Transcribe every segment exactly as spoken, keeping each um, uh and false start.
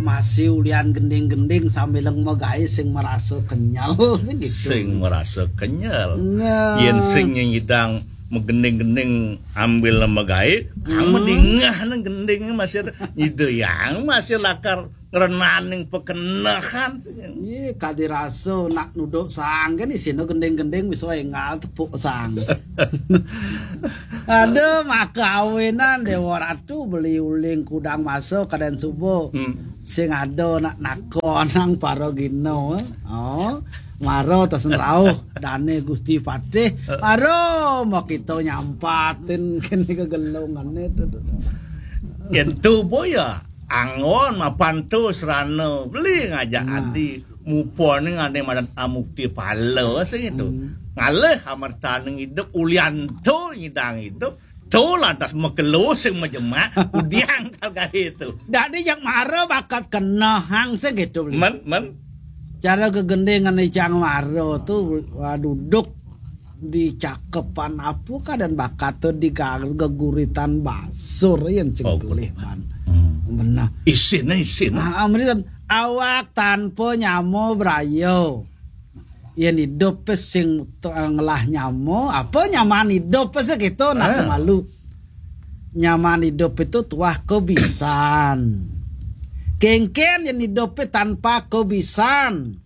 Masih ulian gending-gending sambil magaé sing merasa kenyal, sing gitu. Sing merasa kenyal. Nah. Yén sing nyidang magending-gending ambil magaé, kamu Hmm. dingeh nang gending masih nyidang masih lakar ngrenaning pekenehan. Iya, kadi rasa nak nuduk sang kan isina gending-gending bisa enggal tepuk sang. Aduh, maka awinan Dewa Ratu beli uling kudang masa kadén suba. Hmm. Sing ada nak nakonang para gina. Oh, mara tesen rauh dane Gusti Patih. Mara mau kita nyampatin kene kegelungane tu. Yen tu boya anggon mapan tu serana beli ngajak Nah. adi mupone ngane madan amukti pala sing itu. Hmm. Ngalih amertaning idup ulian tu nyidang idup tu lantas makelo sing majemak udiang kal gahe tu. Dadi yang mara bakat kenehang sing gitu beli. Men, men. Cara gegendingan icang mara tu, wah, duduk di cakepan apa kadén bakat tu di gar-, geguritan basur yen sing Oh, tulih man. Hmm. Menah. Isine, isine. Ah, menitan awak tanpa nyama braya. Yen idup pe sing t-, ngelah nyama, apa nyaman idup pe sing gitu nak Ah. malu. Nyaman idup itu tuah kebisan. Kengken yen idup pe tanpa kebisan,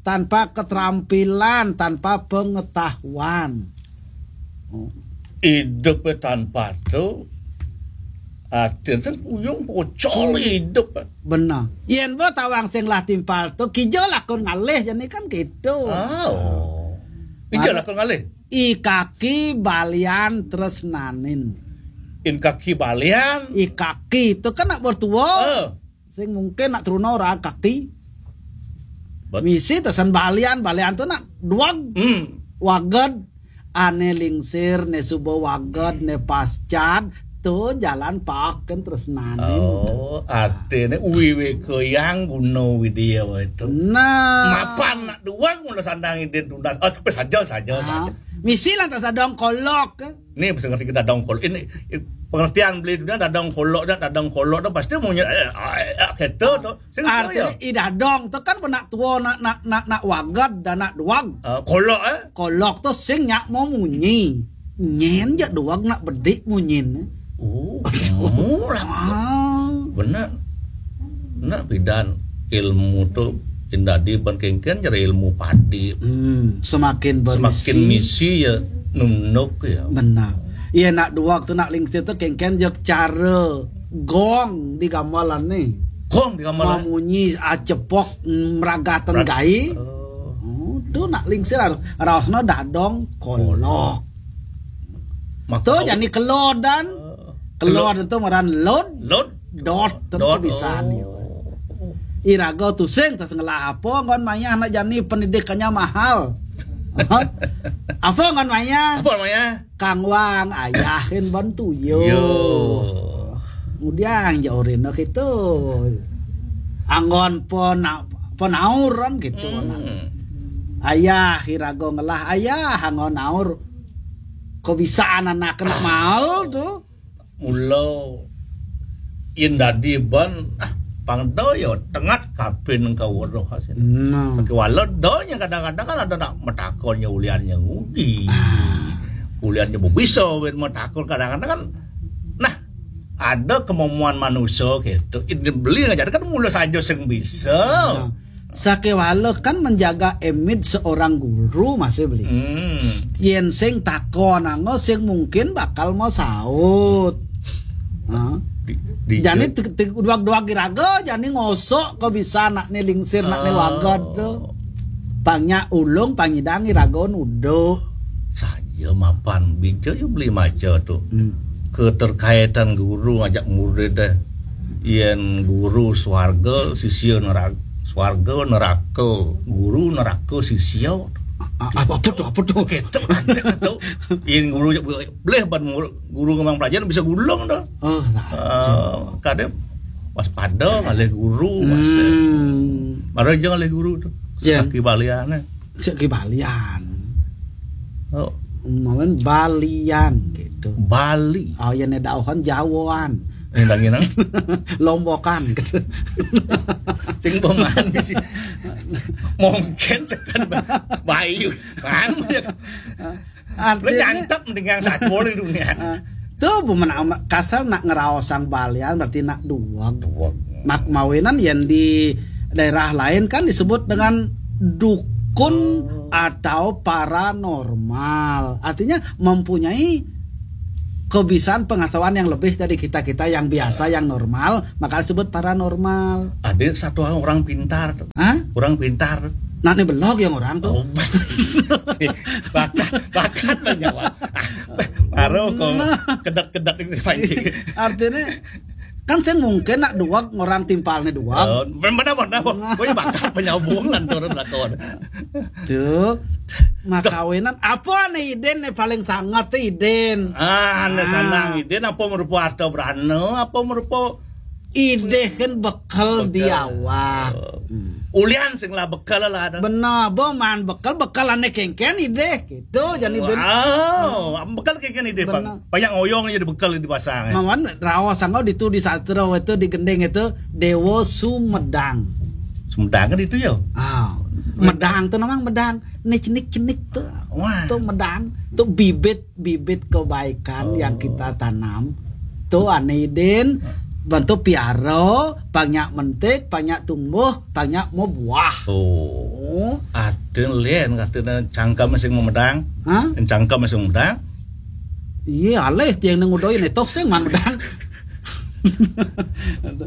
tanpa keterampilan, tanpa pengetahuan. Oh. Idup pe tanpa tu, atin sen uyung pocol idup. Benar. Yen bo tawang sing lah timpal tu, kija lakon ngalih jani kan gitu. Ah, oh. Ija Mar- lakon ngalih. I kaki balian tresnanin. In kaki balian. I kaki tu kan nak bertua. Eh. Sing mungkin nak truna orang kaki. Bet- Misi tesan balian, balian tu nak duag. Hmm. Waged. Ane lingsir, ne suba waged, ne pascad, tu jalan paken tresnanin. Oh, artine uwi weka yang guna widya wae tu. Nah. Mapan nak duag mula sandang idin tunas. Oh, tapi saja, saja, Ah, saja. Misi lantas ada kolok. Ni bisa ngerti kita dadong kolok. Ini, ini pengertian beli dunia dadong kolok dah, dadong kolok dah pasti munyi, eh, eh, eh, gitu tu. Sing Artinya, tahu ya. I dadong tu kan pernah tua nak, nak, nak, nak wagad dan nak duag. Ah, kolok, eh? Kolok tu sing nyak mau munyi. Nyen jak duag nak bedik munyin. Oh, kamu lah. Ah. Benar. Nak pidan ilmu tu indadi ban kengken cara ilmu padi. Hmm, semakin berisi. Semakin misi ya nunuk ya. Benar. Iya, nak duag tu nak lingsir tu kengken jak cara gong di gamelan ni. Gong di gamelan. Mamunyi acepok, mm, meragatan Merag- gai. Oh. Oh, tu nak lingsir ar-, raosna dadong kolok. Maka tu jani kelodan. Eh, kelodan tu ngaran lod. Lod. Dot, tentu Dot, bisa oh. Ni. Iraga tusing tas ngelah apa ngon mayah nak jani pendidikannya mahal. Apa ngon mayah? Apa mayah? Kang Wang, ayahin bantu yo. Yo. Kemudian jauh rina kita. Anggon pena-, penauran gitu. Hmm. Ayah iraga ngelah ayah anggon naur. Kok bisa anak kena mau tu? Mula yen dadi ban, ah, pang da ya tengat kabin ka weruh asin. Nah. Sakiwala da nya kadang-kadang kan ada nak metakon nya ulian nya ngudi. Ah. Ulian nya bisa wit metakon kadang-kadang kan. Nah, ada kemampuan manusia gitu. Ini beli aja kan mula saja sing bisa. Nah. Sakewala kan menjaga image seorang guru masih beli. Hmm. Yen sing takon anggo sing mungkin bakal mau saut. Nah. Di, di, jani di, te-, te-, duag-duag iraga, jani ngosok kok bisa nak ni lingsir, nak ni oh. Wagad tu. Pangnya ulung, pangidang iraga nuduh. Saja mapan bija ya beli maca tu. Hmm. Keterkaitan guru ngajak murid deh. Yen guru swarga, sisya neraka, swarga, neraka, guru, neraka, sisya. A-, apa, apa tu, apa tu? Gitu, nanti tu. Yen guru boleh ban guru, guru ngembang pelajaran bisa gulung tu. Oh, nah. Uh, kadang waspada ngalih guru, masa. Hmm. Mara aja ngalih guru tu. Ya. Sakibaliane. Sakibalian. Oh. Mawen balian gitu. Bali. Oh, ya ne dauhan Jawaan. Ini lagi nang. Lombokan gitu. Sing pemahan bisi. Mungkin sekan bayu. Kan ya. Artinya, nyantap dengan satu di dunia. Ah, tuh bumen ama-, kasar nak ngeraosang balian berarti nak duweg. Duweg. Mak mawinan yang di daerah lain kan disebut dengan dukun atau paranormal. Artinya mempunyai kebiasaan pengetahuan yang lebih dari kita-kita yang biasa, yang normal, maka disebut paranormal. Ada satu orang pintar. Hah? Orang pintar. Nah, ini belok yang orang tuh. Oh, bakat, bakat banyak, Wak. Baru kok kedek-kedek ini pancing. Artinya, kan saya mungkin nak duweg orang timpalnya duweg. Oh, benar, benar, benar. Gue bakat banyak hubungan turun lakon. Tuh, makawinan. Apa nih Idin nih paling sangat tuh Idin? Ah, ane sanang Idin apa merupa harta berana, apa merupa Idih kan bekel di awak. Hmm. Ulian sing lah bekel lah ada. Benar, bo man bekel, bekel ane kengken idih gitu, jadi ben. Wow, bekel kengken idih, Bang. Benar. Payang oyong jadi bekel di pasang. Mawan raos sangau ditu di sastra itu di gending itu Dewa Sumedang. Sumedang kan itu ya? Ah, medang tuh namang medang. Nih cenik-cenik tuh. Wah. Tuh medang, tuh bibit bibit kebaikan yang kita tanam tuh ane Idin bantu piara, banyak mentik, banyak tumbuh, banyak mau buah. Oh. Ada lain katanya cangkem sing memedang. Hah? Cangkem sing memedang. Iya, alih tiang nang udah ini toh sing man medang.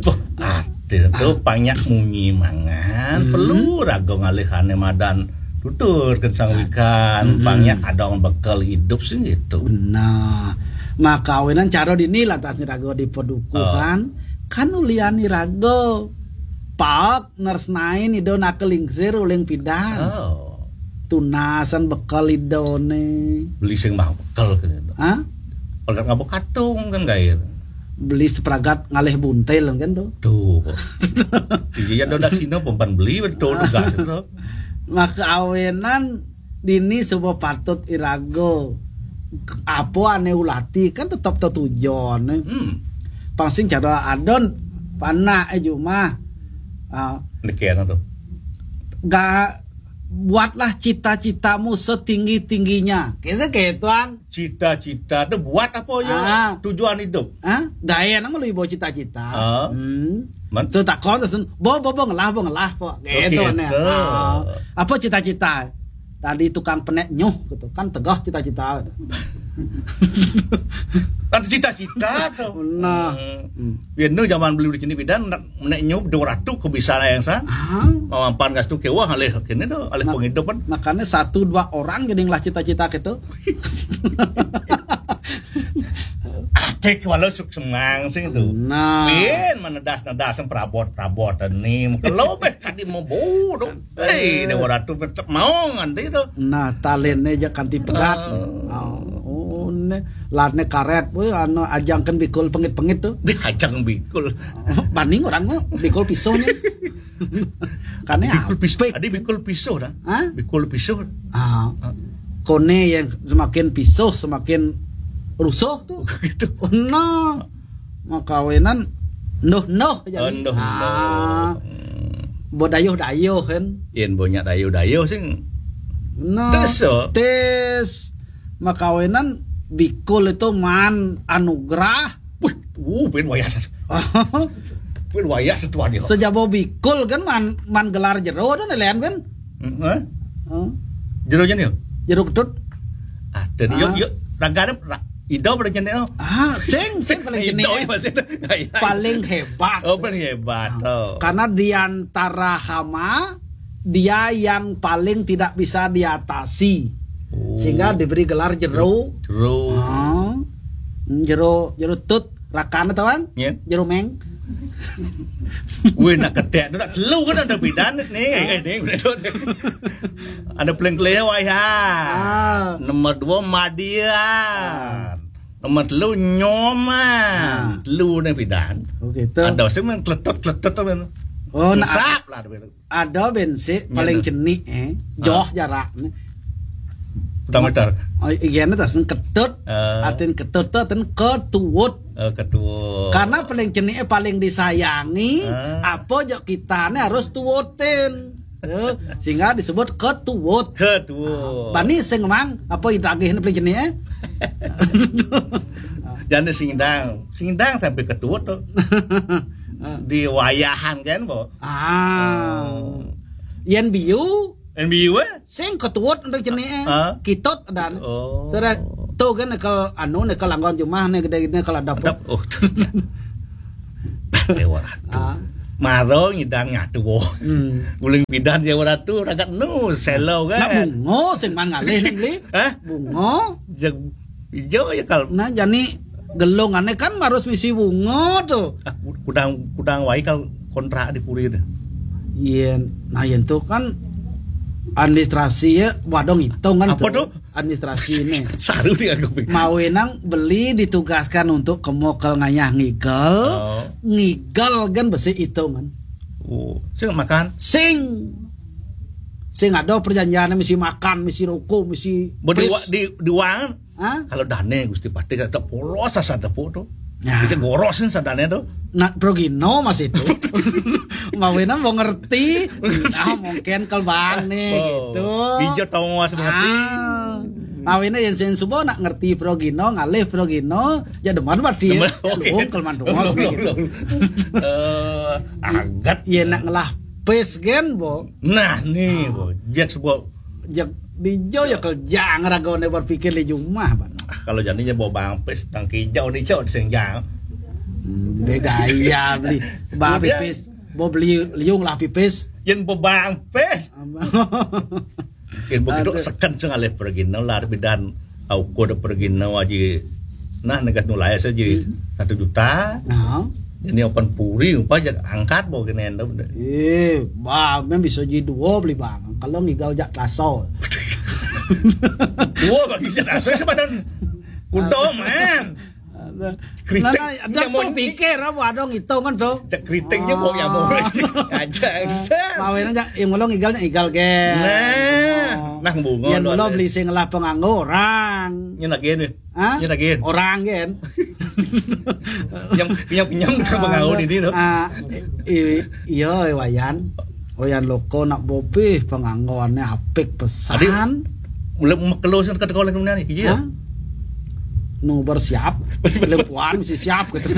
Tuh, ada tuh banyak munyi mangan, perlu raga ngalihane madan tutur kensang wikan, banyak ada orang bekel hidup sih gitu. Benar. Maka awinan cara dini lantas ni raga di padukuhan, kan uliani raga. Pak nersnain ido nak kelingsir uling pidan. Oh. Tunasan bekel idone. Beli sing mah bekel kene. Hah? Pegat ngabuk katung kan gair. Beli sepragat ngalih buntil kan tuh. Tuh. Iya, ya, dodak sino pempan beli betul tugas itu. Maka awenan dini sebuah patut irago. Apa ane ulati kan tetap tetujon. Hmm. Pangsing cara adon panak eh jumah. Ah. Demikian tuh. Gak buatlah cita-citamu setinggi-tingginya. Kayaknya kayak tuan. Cita-cita tuh buat apa ya? Ah. Tujuan hidup. Hah? Gaya nama lu bawa cita-cita. Ah. Hmm. Man? So takon terus bo bo bo ngelah bo ngelah po. Gitu nih. Ah. Apa cita-cita? Tadi tukang penek nyuh gitu kan tegah cita-cita. Kan cita-cita tuh. Nah. Hmm. Biar nu zaman beli di sini bidan menek nyuh dua ratus ke bisa yang sa. Ah. Mampan gas tuh kewah alih kene tuh alih penghidupan. Makanya satu dua orang jadi ngelah cita-cita gitu. Atik walau suksemang sing tuh. Nah. Bin menedas-nedas perabot-perabot ini. Kalau beh tadi mau bodoh. Hei, Dewa Ratu tetap mau nganti tuh. Nah, talentnya aja kanti pegat. Oh, oh ne, latne karet, weh, anu ajangkan bikul pengit-pengit tuh. Di ajang bikul. Banding orang mah bikul pisaunya. Karena bikul pisau. Tadi bikul pisau dah. Hah? Bikul pisau. Ah. Kone yang semakin pisau semakin rusuh tuh. Gitu. Nah, makawinan ndoh ndoh jadi. Oh, ndoh ndoh. Bodayuh dayuh kan. Yen banyak dayuh dayuh sing. Nah, tes makawinan bikul itu man anugerah. Wih, uh, pin wayah satu. Pin wayah satu dia. Sejabo bikul kan man man gelar jero tuh nelayan kan. Hmm, eh? Jero jani. Jero ketut. Ah, dan yuk yuk ragane ido pada jani. Ah, sing sing paling jani. Paling hebat. Oh, paling hebat. Oh. Karena di antara hama dia yang paling tidak bisa diatasi. Oh. Sehingga diberi gelar jero. Jero. Ah. Jero jero tut rakan atau bang? Ya. Jero meng. Wih, nak ketek tu nak telu kan ada bidan ni. Eh, ni ada paling kelihatan wayah. Ah. Nomor dua Madian. Nomor telu nyoman. Ah. Telu ni bidan. Oh, gitu. Ada sih main kletot-kletot tu kan. Oh, nak sap lah tu. Ada bensik paling cenik eh. Joh jarak ni. Pertama tar. Oh, iya ni tas ketut. Atin ketut tu atin ketuut. Eh, ketuwut. Karena paling ceni'é paling disayangi, ah, apa jok kitané harus tuwutin. Ya, sehingga disebut ketuwut. Ketuwut. Bani sing mang, apa ditagihna paling ceni'é? Jane sing ndang, sing ndang sampai ketuwut to. Di wayahan kan, Bo. Ah. Oh. Yen biu, N B U, eh? Sing ketuwut untuk ceni'é. Ah. Kitut dan. Oh. Saudara, tuh kan nekel anu, nekel anggon jumah né gedé-gedé nekel adep. Adep. Oh. Dewa Ratu. Ah. Maro ngidang nyatu, Bo. Hmm. Uling pidan Dewa Ratu ragat nu selo kan. Nak bungo sing man ngalih beli. Hah? Bungo. Jeg ijo ya kal. Nah, jani gelungané kan harus misi bungo tuh. Ah, ku-, kudang, kudang waé kal kontrak di puri deh. Iya, nah, yen tuh kan administrasi ya, wadong hitungan. Apa tuh? Tuh. Administrasi ini. Saru dianggap. Mawenang beli ditugaskan untuk kemokel ngayah ngigel. Oh. Ngigel kan besi hitungan. Oh, sing makan. Sing. Sing ada perjanjiannya mesti makan, mesti rokok, mesti. Bo di pis. Wa-, di, di wang. Hah? Kalau dane Gusti Patih kata polos asa tepuk tuh. Ya. Bisa gorosin sadane tuh. Nak progino masih itu. Mawinan mau ngerti. Nah, mungkin kelbang nih, oh, gitu. Hijau tongos ngerti. Ah. Mawinan yang sen subo nak ngerti progino, ngalih progino, ya demen berarti. Demen, ya, oke. Dong, kelman tongos gitu. Eh, agat. Iya, nak ngelah pes gen, Bo. Nah, nih, ah, Bo. Jek subo. Jak dijo ya kerja ngeragone berpikir di jumah, Bang. Ah, kalau janinya bawa bang pes, tang kijau dijo sing jang. Hmm, beda iya beli. Bah pipis, bawa beli liung lah pipis. Yen bawa bang pes. Yen begitu. Aduh. Seken sing alih pergi no, lar bidan. Au kode pergi no aji. Nah, negas nulai saja. Hmm. Satu juta. Nah. Ini open puri, upah jak angkat bawa kene endo. Eh, bang, men bisa jadi dua beli bang. Kalau ngigal jak kaso. Dua bagi jak kaso sebenarnya. Udah, men. Kritik. Nah, nah, ada tuh pikir apa ada ngitung kan tuh. Cek kritiknya mau ya mau. Ah. Aja. Mawen aja, yang mula ngigalnya igal gen. Nah, nah, bunga. Yang mula beli sing lah pengangguran. Ini lagi nih. Hah? Ini lagi. Orang gen. Yang pinjam-pinjam ke pengangguran ini tuh. Ah, i-, iya, Wayan. Wayan loko nak bopih penganggurannya apik pesan. Mulai mekelo sing kata kau lagi nih, iya. Hah? Nu bersiap, lempuan mesti siap gitu.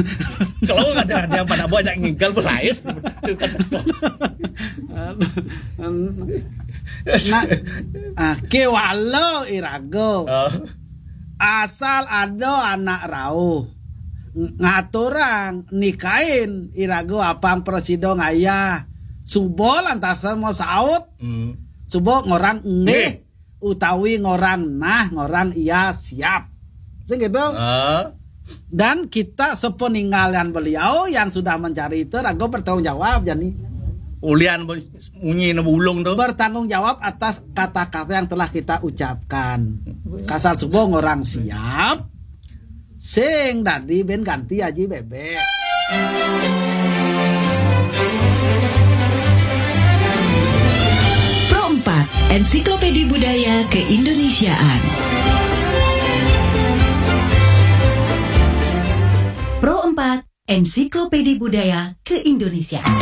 Kalau ada, ada pada banyak ngigal berlais. Nah, ah, kewalo irago. Oh. Asal ada anak rauh ng-, ngaturang nikahin irago apang presido ngayah. Subo lantasan mau saut. Hmm. Subo ngorang nggih. Nggih. Utawi ngorang nah, ngorang iya siap. Sing gitu. Ah. Dan kita sepeninggalan beliau yang sudah mencari itu rago bertanggung jawab, Jani. Ulian bu-, munyi ne bulung tuh. Bertanggung jawab atas kata-kata yang telah kita ucapkan. Kasal subo ngorang siap, sing dadi ben ganti aji bebek. Pro empat, Ensiklopedi Budaya Keindonesiaan. Pro empat, Ensiklopedi Budaya Keindonesiaan.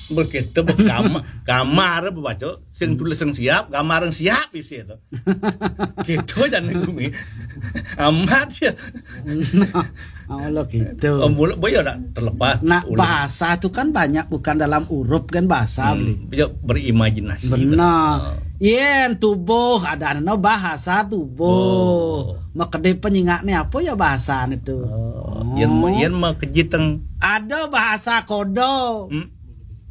Begitu, bu-, kam-, kamar, bu, baca, sing tulis yang siap, gambar yang siap isi itu. Gitu aja nih, Gumi. Amat ya. Nah, Allah gitu. Oh, boleh, boleh ya, nak terlepas. Nah, boleh. Bahasa itu kan banyak, bukan dalam huruf kan bahasa, hmm, beli. Bisa berimajinasi. Benar. Oh. Yen tubuh, ada no bahasa tubuh. Oh. Makede penyingak nih apa ya bahasa itu? Oh. Yen, yen makejiteng. Ada bahasa kodo. Hmm.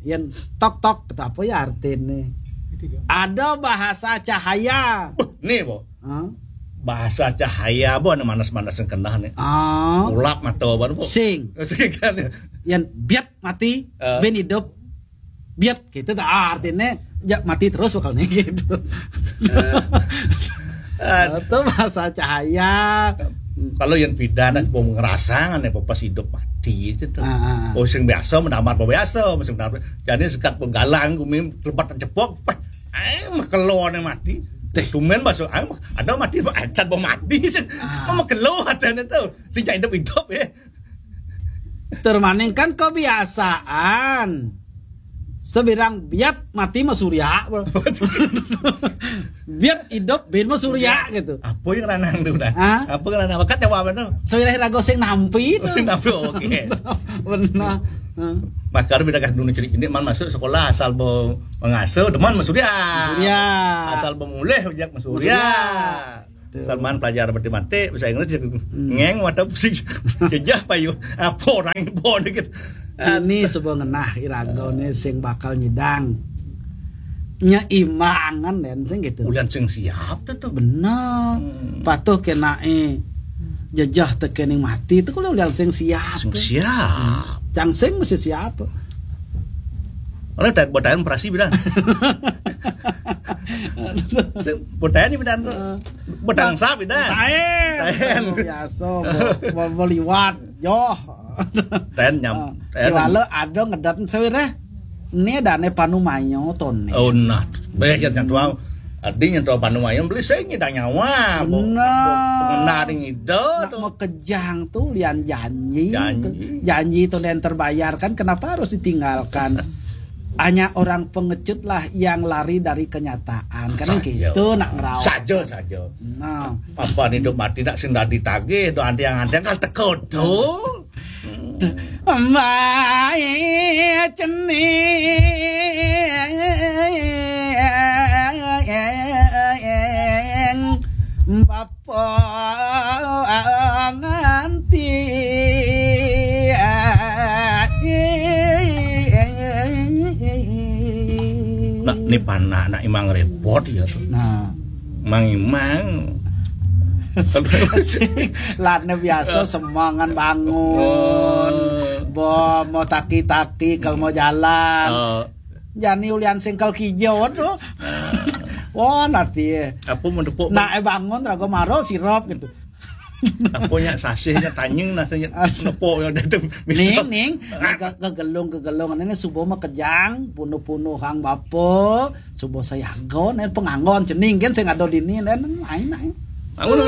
Yen tok tok, kata apa ya artinya? Ada bahasa cahaya. Buh, nih, Bo. Hah? Bahasa cahaya, Bo, anu manas-manas yang kena nih. Ah. Ulap mata, Bo. Sing. Sing kan ya. Yen biat mati, eh, ben hidup. Biat gitu, tak artinya ya mati terus bakal nih gitu. Eh. Itu bahasa cahaya. Kalau yang beda, nak mau ngerasa kan ya, pas hidup mati gitu. Ah, ah, ah. Oh, sing biasa, menamar biasa, sing menamar. Jadi sekat penggalang, gumi lebat cepok, pah, eh, makelone mati. Teh. Tumben, Bos. Ah, ada mati, Bos. Acan, Bos, mati. Ah. Mama kelo adanya tuh. Sing idup-idup, ya. Termaning kan kebiasaan. Sebirang biat mati mah surya, Bro. Biat hidup bin mah surya gitu. Apa yang ranang tuh, dah? Hah? Apa yang ranang? Bakat jawab apa tuh? Sewirah rago sing nampi tuh. Sing nampi, oke. Benar. Hah? Makar beda kan dulu, jadi ini man masuk sekolah asal bo mengasuh, teman mah surya. Surya. Asal bo mulih, ojek mah surya. Surya. Tuh. Salman pelajar matematik, bahasa Inggris, ngeng, mata pusing. Jejah payu. Apa orang yang bawa dikit? Ini sebuah ngenah iragone sing bakal nyidang. Nyeimbangan, den, sing gitu. Ulian sing siap tuh, tuh. Bener. Hmm. Patuh kena, eh, jejah tekening mati itu kalau ulian sing siap. Sing siap. Cang sing mesti siap. Orang tak buat operasi bidan. Sing buat ini bidan tuh. Heeh. Betang sap, dah. Taen. Taen. Biasa, bo, bo, bo liwat. Yoh. Taen nyam-, ah, taen. Iwale ada ngedat sewireh. Ini dane panumayo tone. Oh, nah. Baik, ya, nyentuh. Adi nyentuh panumayo, beli saya ngidang nyawa. Bener. Bo, bo, pengenah ring ida nak tuh. Mekejang tuh lian janji. Janji. Tuh. Janji itu yang terbayarkan, kenapa harus ditinggalkan? Hanya orang pengecut lah yang lari dari kenyataan. Kan saja. Gitu nak ngerawat. Saja, saja. Nah. Apa hidup mati nak sing dadi tagih, do antiang-antiang kan teko do. Mai cening bapa nganti. Nak, ni panak, nak imang repot ya. Nah. Mang imang. Lane biasa semangan bangun. Oh. Bo, mau taki-taki, kalau mau jalan. Oh. Jani ulian singkel kijau tuh. Ah. Wah, nanti ya. Apa mau tepuk? Nak, eh, bangun, rago maro sirop gitu. Apa nyak sasihnya tanying nasanya nepuk ya, dia tuh bisa. Ning, ning, ke, ke gelung, ke gelung. Ini subuh mah kejang, punuh-punuh hang bapa, subuh sayaga, nih penganggon, cening kan saya ngado dini, dan lain-lain. Bangun.